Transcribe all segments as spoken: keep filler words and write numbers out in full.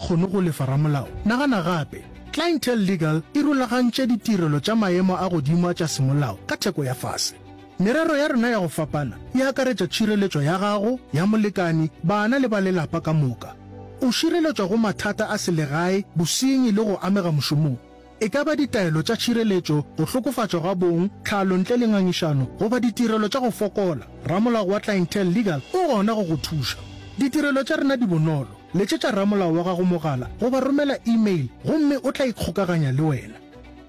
kgone go lefa ramolao? Nagana gape. Clientele Legal e rulagantše ditirelo tša maemo a godimo a tša semolao ka theko ya fase. Merero ya rena ya go fapana e akaretša tšhireletšo ya gago, ya molekani, bana le ba lelapa ka moka. O šireletšwa go mathata a selegae, bosenyi le go amega mošomong. E ka ba ditaelo tša tšhireletšo, go hlokofatšwa ga bong, tlhalo ntle le ngangišano, goba ditirelo tša go fokola, ramolao wa Clientele Legal o gona go go thuša. Ditirelo tša rena di bonolo. Letšetša ramolao wa gago mogala goba romela email gomme o tla ikgokaganya le wena.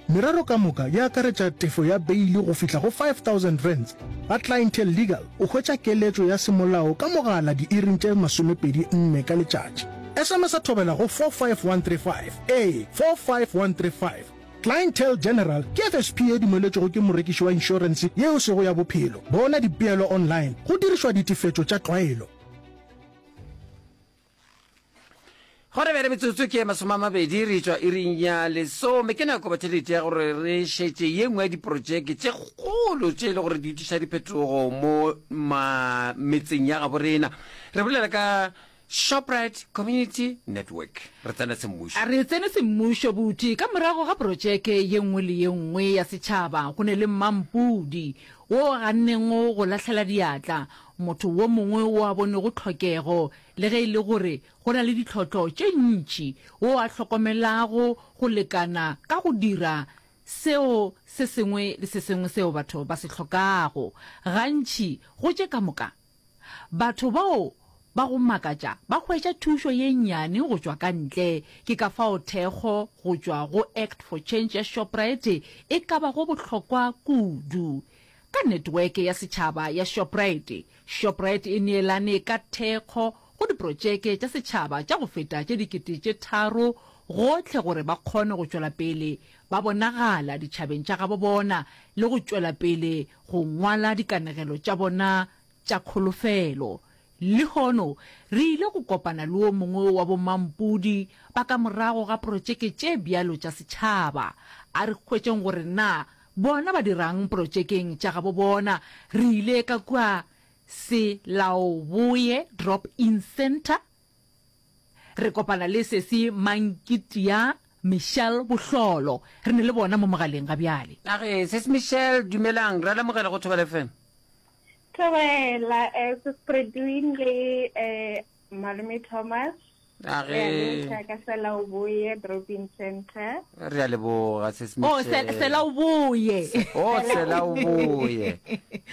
Merero ka moka e akaretša tefo ya beili go fihla go five thousand rands. Ga Clientele Legal o hwetša keletšo ya semolao ka mogala diiring tše masomepedi nne ka letšatši. S M S a thobela go four five one three five, ee, four five one three five. Clientele General ke F S P ye dumeletšwego ke morekiši wa inšorense ye e sego ya bophelo. Bona dipeelo online go dirišwa ditefetšo tša tlwaelo. Gona bjale metsotso ke masome a mabedi re tšwa iring ya lesome. Ke nako batheletši ya gore re šetše ye nngwe ya diprojeke tše kgolo tše e le gore di tliša diphetogo mo ma metseng ya gabo rena. Re bolela ka Shoprite Community Network. Re tsena semmušo. A re tsene semmušo buti. Ka morago ga protšeke ye nngwe le ye nngwe ya setšhaba go ne le mmampudi wo a gannego go lahlela diatla, motho wo mongwe wo a bonego tlhokego le ge e le gore go na le ditlhotlo tše ntši, wo a hlokomelago go lekana ka go dira seo se sengwe le se sengwe seo batho ba se hlokago. Gantši go tše ka moka, batho bao ba go makatša ba hwetša thušo ye nnyane go tšwa ka ntle. Ke ka fao thekgo go tšwa go Act for Change ya Shoprite e ka bago bohlokwa kudu. Ka netweke ya setšhaba ya Shoprite, Shoprite e neelane ka thekgo go diprotšeke tša setšhaba tša go feta tše dikete tše tharo gohle gore ba kgone go tšwela pele ba bonagala ditšhabeng tša gabo bona le go tšwela pele go ngwala dikanegelo tša bona tša kholofelo. Lehono re ile go kopana le wo mongwe wa bomampudi ba ka morago ga protšeke tše bjalo tša setšhaba. A re hwetšeng gore na bona ba dira'ng protšekeng tša gabo bona. Re ile ka kua Selaoboye Drop-In Centre re kopana le sesi Mankitia Michelle Bohlolo. Re ne le bona mo mogaleng ga bjale. A re, Sesi Michelle, dumelang, re a le amogela go Thobela F M. Thobela, eh, Sis Predwin le eh, Malome Thomas. A Re a re. lotšha ka Selaoboye Drop-In Centre. Re a leboga, Sis Oh, se, Michelle. Selaoboye. Se, oh, Selaoboye.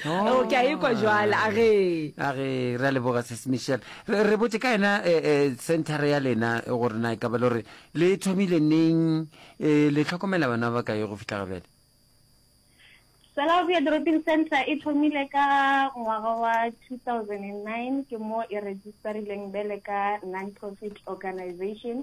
Oh, ke a ekwa jwale, a re. A re, re a leboga, Sis Michelle. Re, re botše ka yena eh, eh, centre ya lena gore na e ka ba le gore le thomile neng, eh, le hlokomela bana ba bakae go fihla ga bjale? Selaoboye Drop-In Centre e thomile ka ngwaga wa two thousand and nine, ke mo e registerileng bele ka non-profit organization.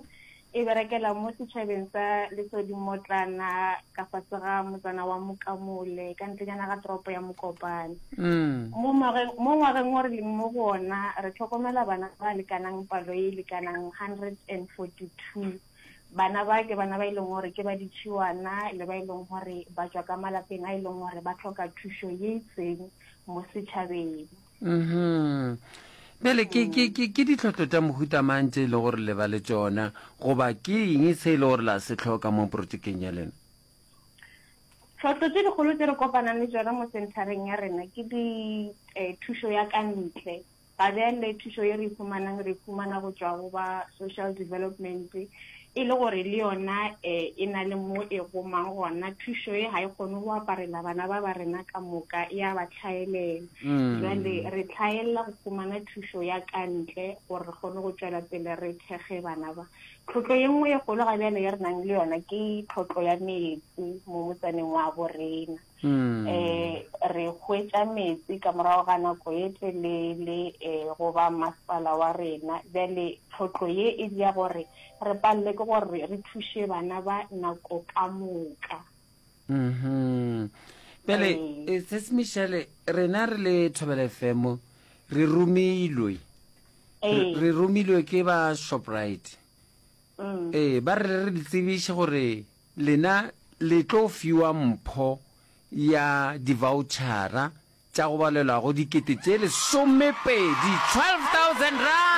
E berekela mo setšhabeng sa Lesodimotlana ka fase ga motsana wa Mokamole ka ntlenyana ga toropo ya Mokopane. Mm. Mo ngwageng mo ngwageng o re leng mo go ona re tlhokomela bana ba lekanang palo e lekanang one hundred and forty-two. Bana ba ke bana ba e leng gore ke ba ditšhiwana le ba e leng gore ba tšwa ka malapeng a e leng gore ba tlhoka thušo ye itseng mo setšhabeng. Mhm. Bjale ke ke ke ke ditlhotlo tša mohuta mang tše e le gore le ba le tšona goba ke eng se e le gore la se hloka mo projekeng ya lena? Tlhotlo tše dikgolo tše re kopanang le tšona mo centereng ya rena ke di eh, thušo ya ka ntle. Ga bjale thušo ye re e fumanang re e fumana go tšwa go ba social development, e le gore le yona eh, e na le mo e gomang gona. Thušo ye ga e kgone go aparela bana ba ba rena ka moka, e a ba tlhaelela. Jwale re tlhaelela go fumana thušo ya ka ntle gore re kgone go tšwela pele re thekge bana ba. Tlhotlo ye nngwe ye kgolo ga bjale ye re nang le yona ke tlhotlo ya metsi mo motsaneng wa bo rena. Mm. eh re hwetša metsi ka morago ga nako ye telele eh go ba masepala wa rena. Bjale tlhotlo ye e dia gore re palele ke gore re thuše bana ba nako ka moka. Mhm. Bjale Ee. eh, Sis Michelle, rena re le Thobela F M re romilwe. Re Ee. re romilwe ke ba Shoprite. Mm. Ee, ba re re le tsebiše gore lena le tlo fiwa mpho ya di-vouchera tša go balelwa go dikete tše lesomepedi, twelve thousand rand.